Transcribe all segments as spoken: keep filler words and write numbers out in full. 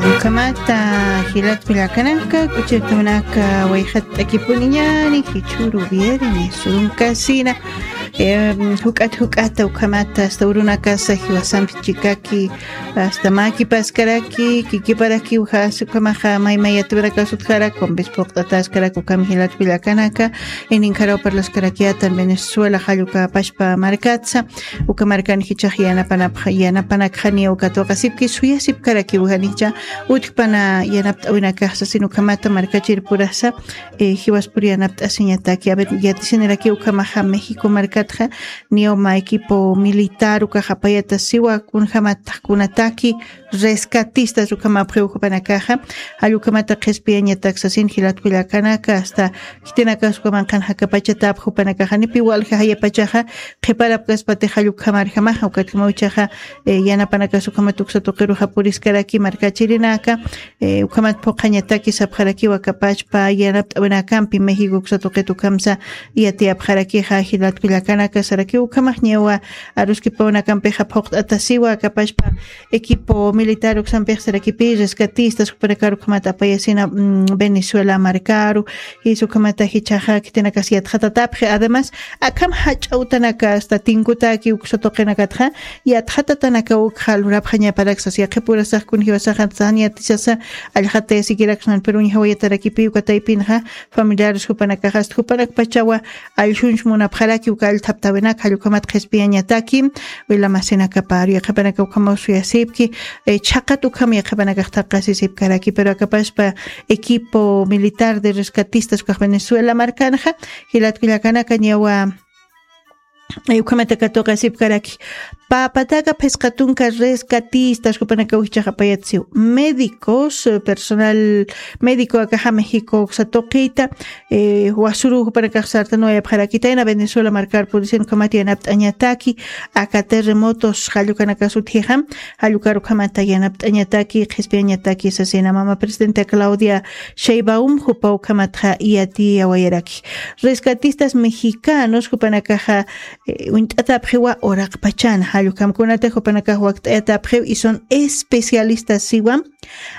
Ukhamata jilat kullakanaka, kuchirtunaka, wayqat t'akipuniñani, jichhuru viernes, unkasina, em, juk'at juk'ata ukhamata, hasta urunakasa jiwasampi chikaki, hasta makipaskaraki, kikiparakiw jas, ukhamaxa maymayaturakas utjaraki, kumpis puqt'ataskaraki, ukham jilat kullakanaka, ininkharaw parlaskarakiyatan Venezuela, jalluka pashpa markatsa, uka markan jichhax yanapanapxa, yanapanakxaniya uka tuqasipki suyasipkarakiw janicha, utjpana yanapt'awinakaxsa, sino ukhamata markachir purasa, eh, jiwaspur yanapt'asiñataki. A ver, yatisiniraki ukhamaxa México markatxa, niya uma equipo militar ukax apayatasiwa, kunjamataq kunataki, rescatistas ukhamapxiw jupanakaxa, jall ukhamata qhispiyañatak sasin jilat kullakanaka, hasta khitinakax ukhamanqan jakapachatapx jupanakaxa, nipi walja jayapachaxa, qhiparapkaspati jall ukhamarjamaxa, ukatjamaw ichaxa, eh, yanapanakas ukhamat uksa tuqiruxa puriskaraki markachirinaka, eh, ukhamat phuqhañataki sapxarakiwa kapachpa, yanapt'awinakampi México uksa tuqit ukhamsa, yatiyapxarakixa, jilat kullakanaka, saraki ukhamax ñawa, aruskipawinakampixa phuqt'atasiwa kapachpa, equipo militar uksampix sarakipi, rescatistas, jupanakar ukhamata apayasina, mm, Venezuela markaru, jis ukhamata jichhaxa khitinakas yatxatatapxi. Además, akham jach'a utanaka hasta tinkutaki uksa tuqinakatxa, yatxatatanaka ukxa lurapxañaparak sas, yaqhipurasax kun jiwasaxa jan yatisasa, allxata yasikiraksnan, pero uñjawayatarakipi uka taypinxa, familiares jupanakaxa, hasta jupanakpachawa, allsunch munapxaraki uka allthaptawinak, jall ukhamat qhispiyañataki, wila masinakapar, yaqhipanaka ukhamaw suyasipki, eh, chhaqat ukham yaqhipanakax thaqasisipkaraki, pero akapaspa equipo militar de rescatistas ukax Venezuela markanxa, jilat kullakanaka ñawa, eh, ukhamataka tuqasipkaraki. Papataka phisqa tunka rescatistas jupanakaw jichhax apayatsiw. Médicos, eh, personal médico akaxa México uksa tuqita, eh, wasuru jupanakax sartanuwayapxarakitayna Venezuela markar purisin ukhamat yanapt'añataki, aka terremotos jall ukanakas utjixa, jall ukar ukhamata yanapt'añataki, qhispiyañataki sasina mama presidenta Claudia Sheinbaum, jupa ukhamatxa yatiyawayaraki. Rescatistas mexicanos, jupanakaxa, eh, uñt'atapxiwa uraqpachan, jall ukham kunatix jupanakax wakt'ayatapxiw, y son especialistas siwa,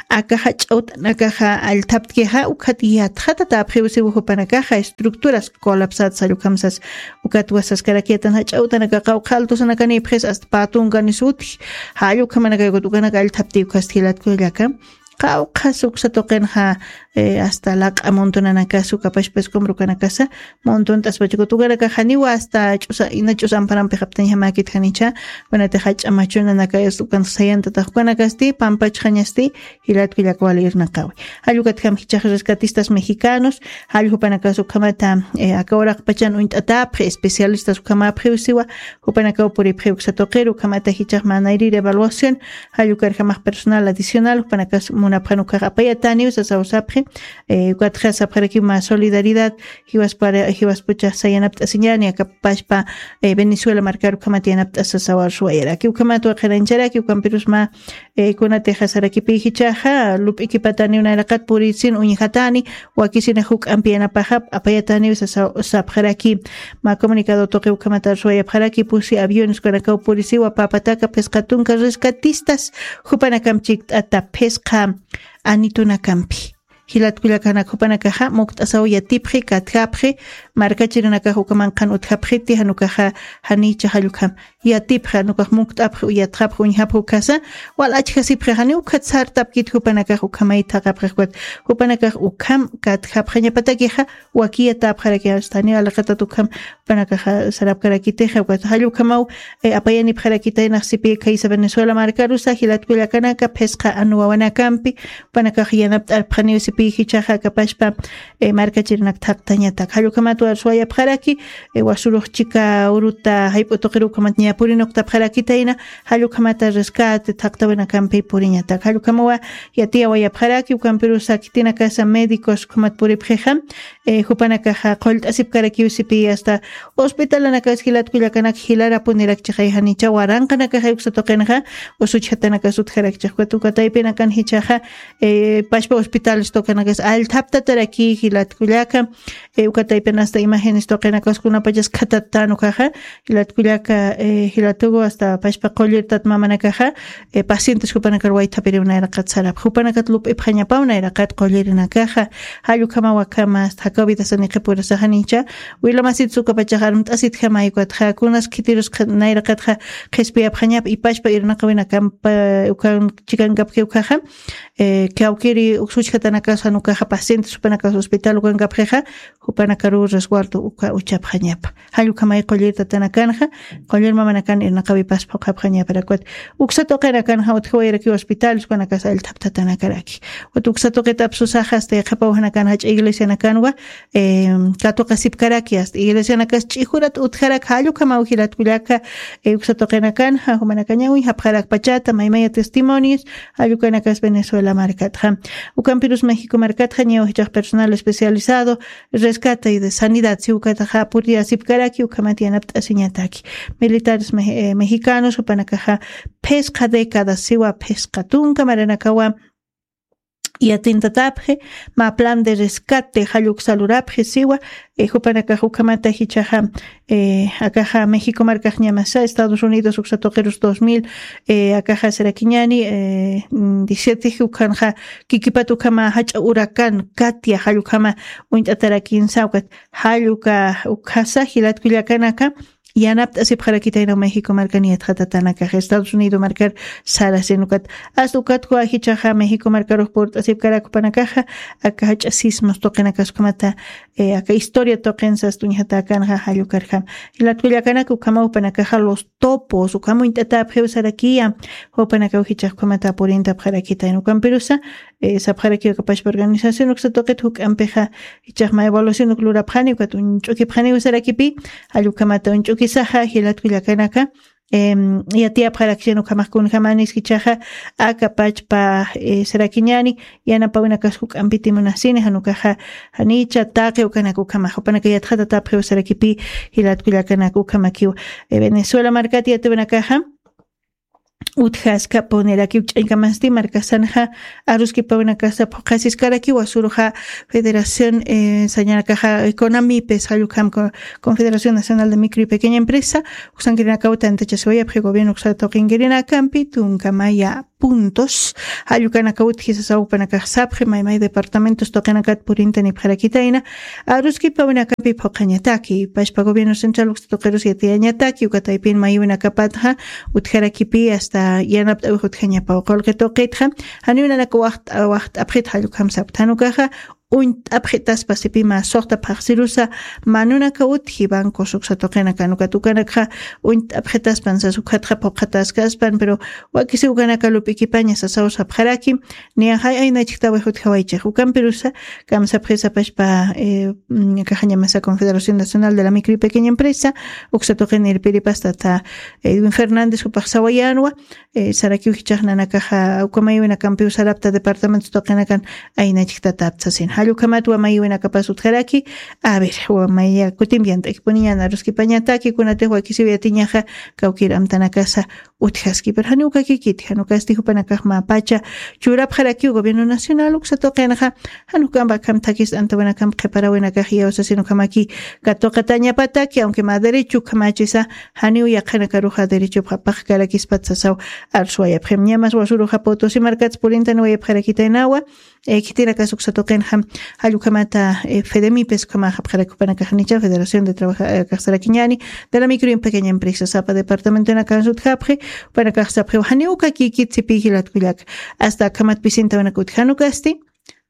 aka jach'a utanakaxa allthaptkixa, ukat yatxatatapxiw siwa jupanakaxa, estructuras colapsadas jall ukhamsas, ukat wasaskaraki yatan jach'a utanakaxa, qawqha altosanaka nipxis, hasta pä tunka nis utji, jall ukhamanaka ukat ukanak allthapti ukhasti jilat kullaka. Qawqhas uksa tuqinxa, eh, hasta laq'a montonanakas ukapashpa escombro ukanakasa, montont'aspacha ukat ukanakax janiwa hasta ch'usa, ina ch'usa amparampix aptañjamäkit janicha, kunatix jach'a machunanaka, ukan sayantatax ukanakasti, pampachxañasti, jilat kullaka wali irnaqawi. Jall ukatjam jichhax rescatistas mexicanos, jall jupanakas ukhamata, eh, aka uraqpachan uñt'atapxi, especialistas ukhamapxiw siwa, jupanakaw puripxiw uksa tuqiru, ukhamata jichhax mä nayrïr evaluación, jall ukarjamax personal adicional, jupanakas munapxan ukax apayataniw sasaw sapxi, eh, ukatxa sapxarakiw mä solidaridad, jiwaspara, jiwaspuchax sayanapt'asiñani, akapashpa, eh, Venezuela markar ukhamat yanapt'asa sasaw arsuwayaraki, ukhamat waqhirañcharaki, ukampirus mä, eh, kunatixa sarakipi jichhaxa, lup'ikipataniw nayraqat purisin uñjatani, wakisina juk'ampi yanapaxap, apayataniw sasa, sapxaraki. Mä comunicado tuqi ukhamat arsuwayapxaraki, pusi aviones ukanakaw purisiwa, papataka phisqa tunka rescatistas, jupanakamp chikt'ata phisqa anitunakampi. Jilat kullakanak jupanakaxa, mukt'asaw yatipxi, katjapxi, markachirinakax ukamanqan utjapxiti, jan ukaxa, janicha jall ukham yatipxi, jan ukax mukt'apxi, yatxapxi, uñjapxi ukasa, wal achjasipxi, janiw ukhat sartapkit jupanakax ukhamay thaqapxi, ukat jupanakax ukham katjapxañapatakixa, wakiyatapxaraki, hasta janiw alaqatat ukham jupanakaxa sarapkarakitixa, ukat jall ukhamaw, eh, apayanipxarakitaynax sipi khaysa Venezuela markarusa, jilat kullakanaka, phisqa anu wawanakampi, jupanakax yanapt'arpxaniw sipi jichhaxa akapashpa, eh, markachirinak thaqtañatak. Jall ukhamat arsuwayapxaraki, eh, wasurux chika uruta jayp'u tuqiru ukhamat ña purinaktapxarakitayna, jall ukhamata rescate thaqtawinakampi puriñatak. Jall ukhamawa yatiyawayapxaraki, ukampirusa khitinakasa médicos ukhamat puripxixa, eh, jupanakaxa qullt'asipkarakiw sipi hasta hospitalanakas jilatkullakanaka jilarapunirakchixay janicha waranqanakaxay uksa tuqinxa usuchjatanakas utjarakchix. Uka taypinakan jichhaxa, eh, pachpa hospitales tuqinakas allthaptataraki jilatkullaka, eh, uka taypin hasta imágenes tuqinakas kunapachas khatattan ukaxa, jilatkullaka, eh, jilatugu hasta pachpa qullirtat mamanakaxa, eh, pacientes jupanakar waythapiriw nayraqat sarap. Jupanakat lup'ipxañapaw nayraqat qullirinakaxa, jall ukhama wakhama, hasta jakaw vidasa niqhipurasa janicha, wilamasit sukapachax armt'asitjamay ukatxa, kunas khitirus nayraqatxa qhispiyapxañap, ipachpa irnaqawinakampa, ukan chikankapxi ukaxa, eh, kawkiri uksuchjatanakas jan ukaxa pacientes jupanakas hospital ukankapxixa, jupanakaruw resguardo uka uchapxañapa. Jall ukhamay qullirtatanakanxa, qullir mamanakan irnaqawipas phuqhapxañaparakwat. Uksa tuqinakanxa utjawayarakiw hospitales ukanakas allthaptatanakaraki. Ukat uksa tuqit apsusaxa hasta yaqhipaw janakan jach'a iglesianakanwa, eh, katuqasipkaraki hasta iglesianakas ch'ijurat utjarak jall ukhamaw jilatkullaka, eh, uksa tuqinakanxa, jumanakañaw japxarakpachata, maymaya testimonios, jall ukanakas Venezuela markatxa. Ukampirus México markatxa, ñaw jichhax personal especializado, rescate y de sanidad, si ukataxa puriyasipkaraki, ukhamat yanapt'asiñataki. Militares me-, eh, mexicanos, jupanakaxa phisqa décadas, siwa phisqa tunka maranakawa yatintatapxi, mä plan de rescate, jall uksa lurapxi, siwa, eh, jupanakax ukhamata jichhaxa, eh, akaxa México markax ñamasa, Estados Unidos uksa tuqirus dos mil, eh, akaxa sarakiñani, eh, mm, diecisiete ukhanxa, kikipat ukhama jach'a huracán Katia, jall ukhama uñt'atarakinsa, ukat jall uka, ukhasa, jilatkullakanaka, yanapt'asipxarakitaynaw México markan yatxatatanakaxa, Estados Unidos markar sarasin ukat. Hasta ukat kuwa jichhaxa México markarux purt'asipkarak jupanakaxa, aka jach'a sismos tuqinakas ukhamata, eh, aka historia tuqin sas uñjatäkanxa jall ukarjam. Jilatkullakanaka ukhamaw jupanakaxa los topos, ukham uñt'atapxiw sarakiya, jupanakaw jichhax ukhamata purintapxarakitayna ukampirusa, eh, sapxarakiw aka pachpa organización uksa tuqit juk'ampixa, jichhax mä evaluación uk lurapxani, ukat uñch'ukipxaniw sarakipi, jall ukhamata uñch'ukisaxa, jilatkullakanaka, em, yatiyapxaraksina ukhamax kunjamanis jichhaxa, aka pachpa, eh, sarakiñani, yanapawinakas juk'ampiti munasini, jan ukaxa, janicha taqi ukanak ukhamax, jupanaka yatxatatapxiw sarakipi, jilatkullakanaka ukhamakiw, eh, Venezuela markat yatiwinakaxa, utjaskapunirakï, ch'añkamasti markasanxa aruskipawinakasa phuqhasiskarakiwa, usuruxa Federación, eh, sañanakaxa Econamipes, jall ukham co-, Confederación Nacional de Micro y Pequeña Empresa, uksankirinakaw tantachasiwayapxi gobierno uksa tuqinkirinakampi tunka maya puntos, jall ukanakaw utji sasaw jupanakax sapxi, maymay departamentos tuqinakat purintanipxarakitayna, aruskipawinakampi phuqhañataki, pachpa gobierno central uksa tuqirus yatiyañataki, uka taypin mayïwinakapatxa utjarakipi hasta yanapt'awix utjañapaw. Qullqi tuqitxa, janiw nanaka waxt'a-, waxt'apxit, jall ukham sapkta, jan ukaxa uñt'apxitaspa sipi mä suxta phaxsirusa, mä nunaka utji bancos uksa tuqinakan, ukat ukanakxa uñt'apxitaspan sas ukatxa phuqhataskaspan, pero wakisi ukanaka lup'ikipaña sasaw sapxaraki, niyaxay aynachktawi jutjawaychix. Ukampirusa, kamsapxisa pachpa, eh, mm, akaxa ñamasa Confederación Nacional de la Micro y Pequeña Empresa, uksa tuqin irpiripasta tata Edwin Fernández jupax sawayänwa, eh, sarakiw jichhax nanakaxa, uka mayïwinakampiw sarapta departamento tuqinakan aynachktatapta sasin. Jall ukhamat wa mayïwinakapas utjaraki, a ver, wa maya kutimpi yant'akipuniñan aruskipañataki, kunatix wakisiw yatiñaxa, kawkir amtanakasa utjaski. Pero janiw ukakikiti, jan ukasti jupanakax mä pacha churapxarakiw gobierno nacional uksa tuqinxa, jan ukamp akham thakis antawinakamp qhiparawinakax iyawsasin ukhamaki katuqatañapataki, aunque mä derecho ukhamachisa, janiw yaqhanakaruxa derecho phapaxkarakispat sasaw arswayapxim. Ñamas usuruxa Potosí markats purintaniwayapxarakitaynawa, eh, khitinakas uksa tuqinxa, jall ukhamata, eh, Fedemipes ukhamax sapxarak jupanakax janicha, Federación de Trabaja-, eh, kaxsarakiñani, de la Micro y Pequeña Empresa, sapa departamentonakansa utjapxi, jupanakax sapxiw, janiw ukakikit sipi jilatkullaka. Hasta akhamat pisintawinak utji, jan ukasti,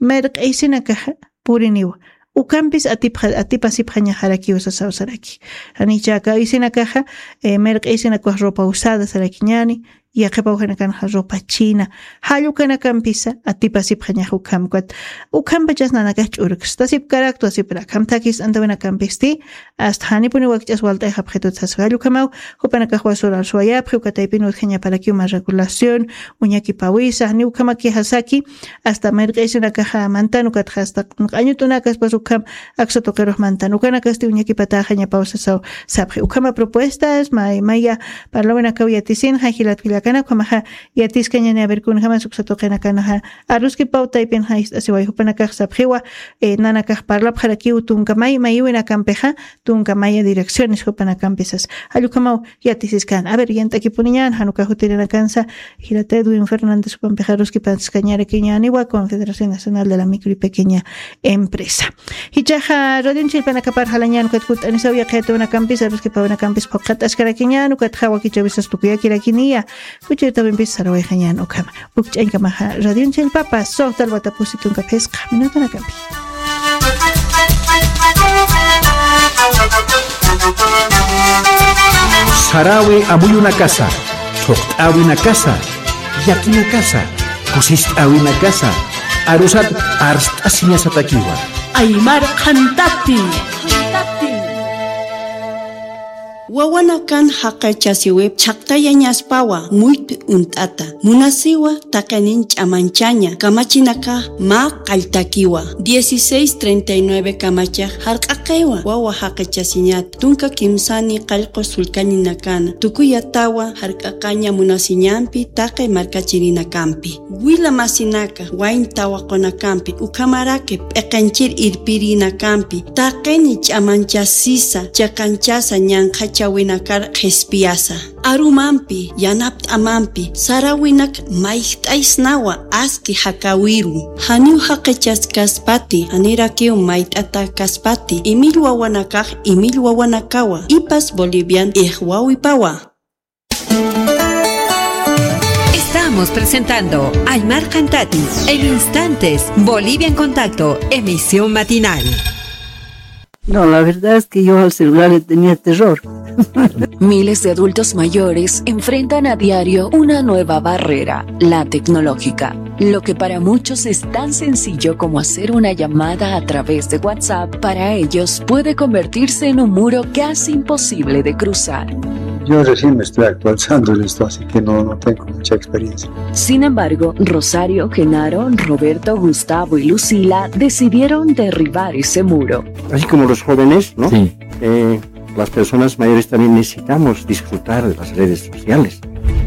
mirq'isinakaxa puriniwa. Ukampis atipxa-, atipasipxañaxarakiw sasaw saraki. Janicha aka aysinakaxa, eh, mirq'isinakax ropa usada sarakiñani, yaqhipaw janikanxa ropa china, jall ukanakampisa atipasipxañax ukham ukat. Ukhampachas nanakax ch'urkstasiparak, tuwasiprak, akham thakis antawinakampisti, hasta janipuni wakch'as walt'ayxapxitut sasa jall ukhamaw, jupanakax wasurar suwayapxi, uka taypin utjañaparakiw mä regulación, uñakipawisa, janiw ukhamakixasaki, hasta mirq'isinakaxa mantan, ukatxa hasta q'añutunakaspas ukham aksa tuqirux mantan, ukanakasti uñakipatäxañapaw sasaw sapxi. Ukhama propuestas, may, maya parlawinakaw yatisinxa, jilat jillakanak, ukhamaxa yatiskañani, a ver, kunjamas uksa tuqinakanaxa aruskipaw taypinxa ist'asiway, jupanakax sapxiwa, eh, nanakax parlapxarakiw tunka may, mayiwinakampixa, tunka maya direcciones jupanakampisas. Jall ukhamaw yatisiskan. A ver, yant'akipuniñan, jan uka jutirinakansa, jilat Edwin Fernández jupampix aruskipaskañarakiñäniwa, Confederación Nacional de la Micro y Pequeña Empresa. Jichhaxa, radionchin jilpanakapar jalañän, ukat kutt'anisaw yaqha yatiyawinakampis, aruskipawinakampis phuqhat'askarakiñän, ukatxa wakichäwisas tukuyakirakiniya, kuchirtawimpis sarawayxañän ukhama. Ukch'añkamaxa, radionchin jilpapa, suxta alwatapusi tunka phisqa minutanakampi. Sarawi amuyunakasa, thuqt'äwinakasa, llakinakasa, kusist'äwinakasa, arusat arst'asiñasatakiwa. Aymar qhantati. Wawanakan jaqachasiwip chhaqtayañaspawa muyt'i uñt'ata. Munasiwa taqinin ch'amanchaña, kamachinakax mä qalltakiwa. Dieciséis treinta y nueve kamachax jarq'aqiwa wawa jaqachasiñat, tunka kimsani qallqu sullkañinakana, tukuyatawa jarq'aqaña munasiñampi taqi markachirinakampi. Wila masinaka, wayn tawaqunakampi, ukhamaraki p'iqinchir irpirinakampi, taqini ch'amanchasisa, chiqanchasa ñanqhachawinakar qhispiyasa. Arumampi, yanapt'amampi, sarawinak mayjt'aysnawa aski jakäwiru. Janiw jaqichaskaspati, janirakiw mayt'atäkaspati, imill wawanakax, imill wawanakawa, ipas Bolivian ijwawipawa. Estamos presentando Aymar Qhantati en instantes, Bolivia en Contacto, emisión matinal. No, la verdad es que yo al celular le tenía terror. Miles de adultos mayores enfrentan a diario una nueva barrera, la tecnológica. Lo que para muchos es tan sencillo como hacer una llamada a través de WhatsApp, para ellos puede convertirse en un muro casi imposible de cruzar. Yo recién me estoy actualizando en esto, así que no, no tengo mucha experiencia. Sin embargo, Rosario, Genaro, Roberto, Gustavo y Lucila decidieron derribar ese muro. Así como los jóvenes, ¿no? Sí. Eh, las personas mayores también necesitamos disfrutar de las redes sociales.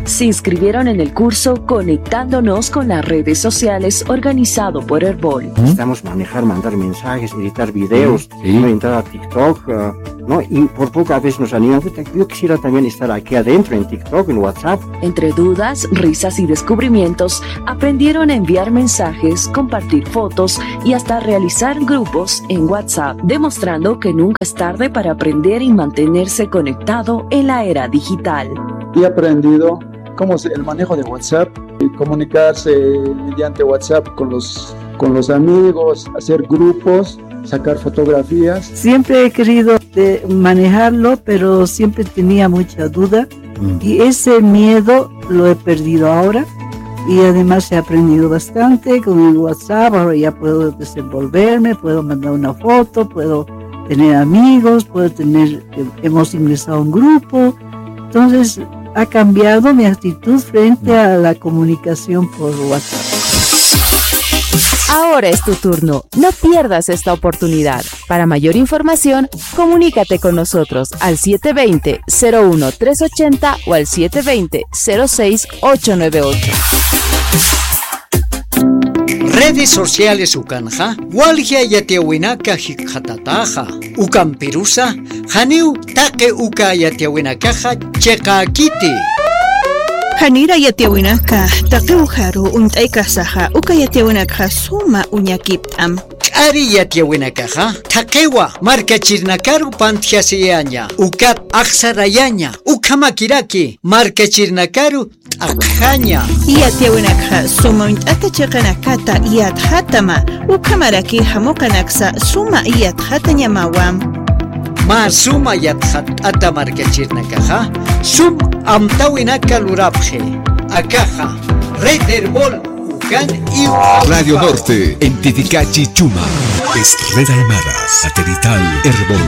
Se inscribieron en el curso Conectándonos con las redes sociales organizado por Erbol. Necesitamos manejar, mandar mensajes, editar videos, sí, ¿no? Entrar a TikTok, ah, ¿no? Y por poco a veces nos animamos. Puta, yo quisiera también estar aquí adentro en TikTok, en WhatsApp. Entre dudas, risas y descubrimientos, aprendieron a enviar mensajes, compartir fotos y hasta realizar grupos en WhatsApp, demostrando que nunca es tarde para aprender y mantenerse conectado en la era digital. He aprendido cómo es el manejo de WhatsApp, y comunicarse mediante WhatsApp con los, con los amigos, hacer grupos, sacar fotografías. Siempre he querido de manejarlo, pero siempre tenía mucha duda. Mm. Y ese miedo lo he perdido ahora. Y además he aprendido bastante con el WhatsApp. Ahora ya puedo desenvolverme, puedo mandar una foto, puedo tener amigos, puedo tener, eh, hemos ingresado a un grupo. Entonces, ha cambiado mi actitud frente a la comunicación por WhatsApp. Ahora es tu turno. No pierdas esta oportunidad. Para mayor información, comunícate con nosotros al siete veinte, cero uno, tres ochenta o al siete veinte, cero seis, ocho nueve ocho. Redes sociales ukanxa, walja yatiyäwinaka jikxatataxa. Ukampirusa, janiw taqi uka yatiyäwinakaxa chiqäkiti. Janira yatiyäwinaka, taqi ukaru uñt'aykasaxa, uka yatiyäwinakxa suma uñakipt'am. K'ari yatiyäwinakaxa, thaqiwa markachirinakaru pantjasiyaña, ukat axsarayaña, ukhamakiraki markachirinakaru t'aqjaña. Yatiyäwinakxa suma uñt'ata chiqanakata yatxatama, ukhamaraki jamuqanaksa suma yatxatañamawa. Mä suma yatxatt'ata markachirinakaxa, sum amtäwinaka lurapxi. Akaxa, Red Erbol, ukan iw. Radio Norte, en Titicachi, Chuma. Es Red Aymara, satelital Erbol.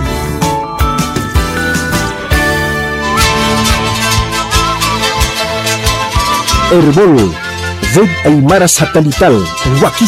Erbol, Red Aymara Satelital, wakis